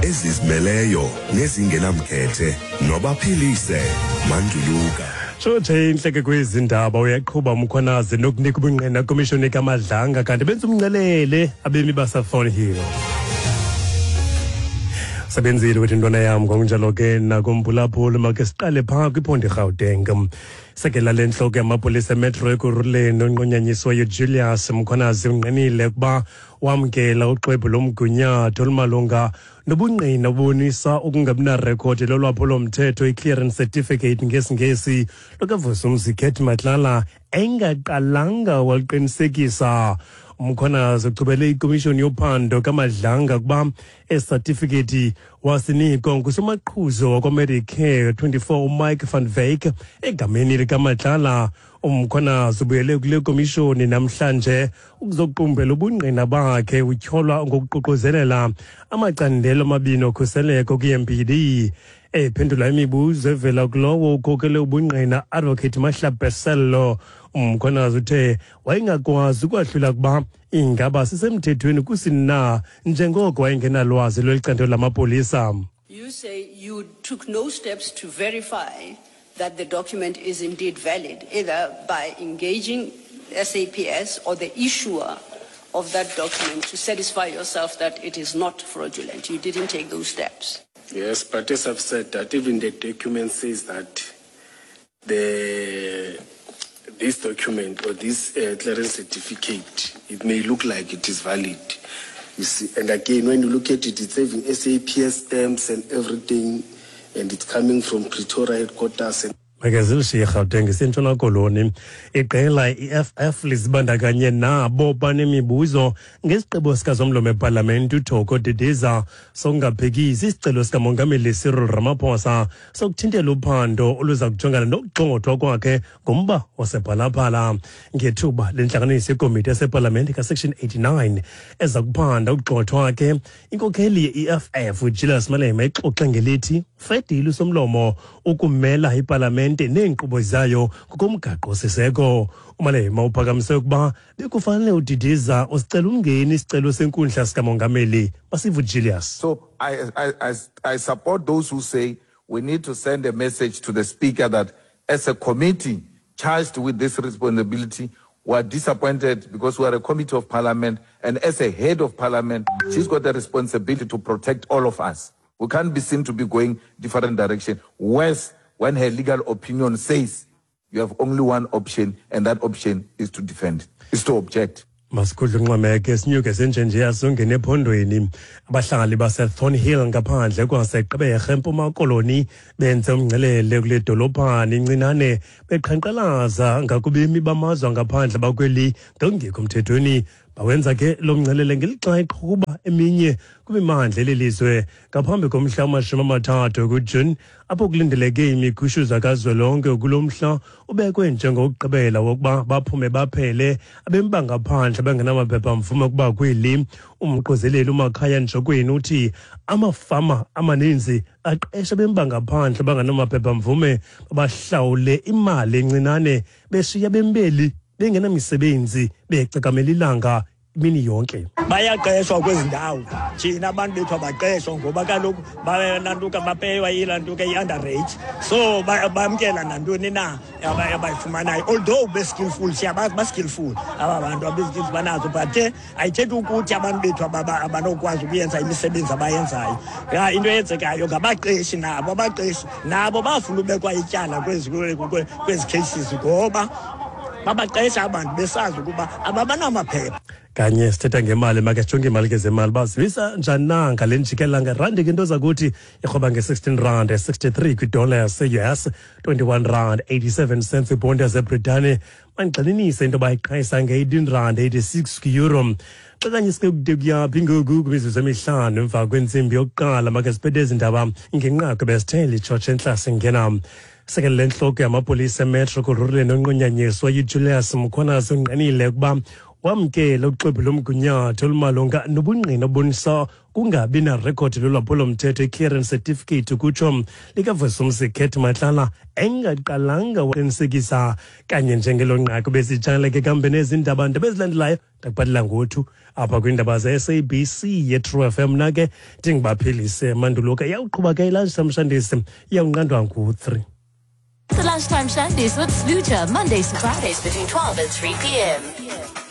Ezizimeleyo nezingenamkhethe nobaphilise Manduluka. Tshotshe intleke kwezi ndaba uyaqhuba uMkhwanazi nokunika ubungqina komishoni kaMadlanga kanti benza umncelele abemi baseThornhill. Sebenzile wethu intwana yam ngokunjalo ke nakumphulaphuli makhe siqale phaa kwiphondo iRhawuteng. Sekela lentloko yamapolisa emetro ekuruleni onqunyanyisweyo Julius Mkhwanazi ungqinile ukuba wamkela uxwebhu lomgunyathi olumalunga nobungqina obubonisa ukungabinarekhodi lolwaphulo-mthetho i-clearance certificate ngesiNgesi lukaVusumzi Cat Matlala engaqalanga waliqinisekisa. UMkhwanazi uchubele ikomishoni yophando kaMadlanga ukuba esi satifikethi wasinikwa ngusomaqhuzo wakwaMedicare 24 uMike van Wyk egameni likaMatlala. UMkhwanazi ubuyele kule komishoni namhlanje ukuzoqumbela ubungqina bakhe utyholwa ngokuququzelela amacandelo amabini okhuseleko kwi-MPD. Ephendula imibuzo evela kulowo ukhokele ubungqina Advocate Mahlapeselo, uMkhwanazi uthe wayengakwazi ukwahlula ukuba ingaba sisemthethweni kusini na njengoko wayengenalwazi lweli candelo lamapolisa. You say you took no steps to verify that the document is indeed valid, either by engaging SAPS or the issuer of that document to satisfy yourself that it is not fraudulent. You didn't take those steps. Yes, but as I've said, that even the document says that this document or this clearance certificate, it may look like it is valid. And again, when you look at it, it's having SAPS stamps and everything, and it's coming from Pretoria headquarters. And Makezilishiye iGauteng isentshona Koloni. Iqela i-EFF lizibandakanye nabo banemibuzo ngesigqibo sikazomlomo epalamente uThoko Didiza sokungaphikisi isicelo sikamongameli Cyril Ramaphosa sokuthintela uphando oluza kujongana nokugxothwa kwakhe ngomba wasephalaphala. Ngethuba lentlanganiso yekomiti yasepalamente kaSection 89 eza kuphanda ukugxothwa ke, inkokheli ye-EFF uJulius Malema ixoxe ngelithi ufedile usomlomo ukumela ipalamente neenkqubo zayo ngokomgaqo-siseko. UMalema uphakamise ukuba bekufanele uDidiza usicela umngeni isicelo senkundla sikamongameli. Masive uJulius. So I support those who say we need to send a message to the speaker that as a committee charged with this responsibility, we are disappointed because we are a committee of parliament, and as a head of parliament, she's got the responsibility to protect all of us. We can't be seen to be going different direction. Worse, when her legal opinion says you have only one option, and that option is to defend, is to object. Masikhudle unxwemeke sinyuke senjenje asongene ephondweni. Abahlali baseThornhill ngaphandle kwaseGqeberha eMpuma Koloni benze umngcelele kule dolophana incinane beqhankqalaza ngakubemi bamazwe angaphandle bakweli ngokungekho mthethweni. Bawenza ke lo mngcelele ngelixa iqhuba eminye kwimimandla eli lizwe ngaphambi komhla wama-30 kuJuni, apho kulindeleke imikhushuza kazwelonke. Kulo mhla ubekwe njengokugqibela wokuba baphume baphele abemi bangaphandle bengenamaphepha mvume ukuba kweli. Umquzeleli uMakhaya Njokweni uthi amafama amaninzi aqesha abemi bangaphandle bangenamaphepha mvume, babahlawule imali encinane, beshiya bembeli bengenamisebenzi becakamela ilanga imini yonke. Bayaqeshwa kwezi ndawo, thina abantu bethu abaqeshwa ngoba kaloku bayanantuka bapeywa ilantuka i-underage, so bamkela nantoni na abayifumanayo. Although be-skillful, siyabazi ba-skillful aba bantu, abezi-skills banazo, but ke ayithethi ukuthi abantu bethu abanokwazi ukuyenza imisebenzi abayenzayo. Ya, into eyenzekayo ngabaqeshi nabo, abaqeshi nabo bafuna ubekwa ityala kwezi cases ngoba babaqesha abantu besazi ukuba ababanamaphepha. Kanye sithetha ngemali, make sijonge imali ke zemali bazivisa njani na ngale njikela ngerandi ke into zakuthi irhoba nge-16 rand 63 kwidola yase-US, 21 rand 87 cents kwibhondi yaseBritane. Mandigxininise into yoba iqhayisa nge-18 rand 86 kwi-euro. Xa kanye sike kude kuyaphi ngoku kwimizuzu emihlanu emva kwentsimbi yokuqala, make siphethe ezi ndaba ngenqaku besithe litshotshe entla singena. Sekele lentloko yamapolisa emetro Kurhuleni onqunyanyiswa uJulius Mkhwanazi ungqinile ukuba Wamkela uxwebhu lomgunyathi olumalunga nobungqina obonisa kungabi narekhodi lolwaphulomthetho, i-clearance certificate ukutsho, likaVusumuzi Cat Matlala, engaqalanga waqinisekisa kanye njengelo nqaku. Besitshala ke kambe nezi ndaba ndaba ezilandelayo ndakubhalela ngothu apha kwiindaba ze-SABC ye-True FM. Mna ke ndinguBaphilise Manduluka. Iyawuqhuba ke i-Lunchtime Shandisi, iyawunqandwa ngu-3. The Lunchtime Shandies with Sluja, Mondays to Fridays between 12 and 3 p.m.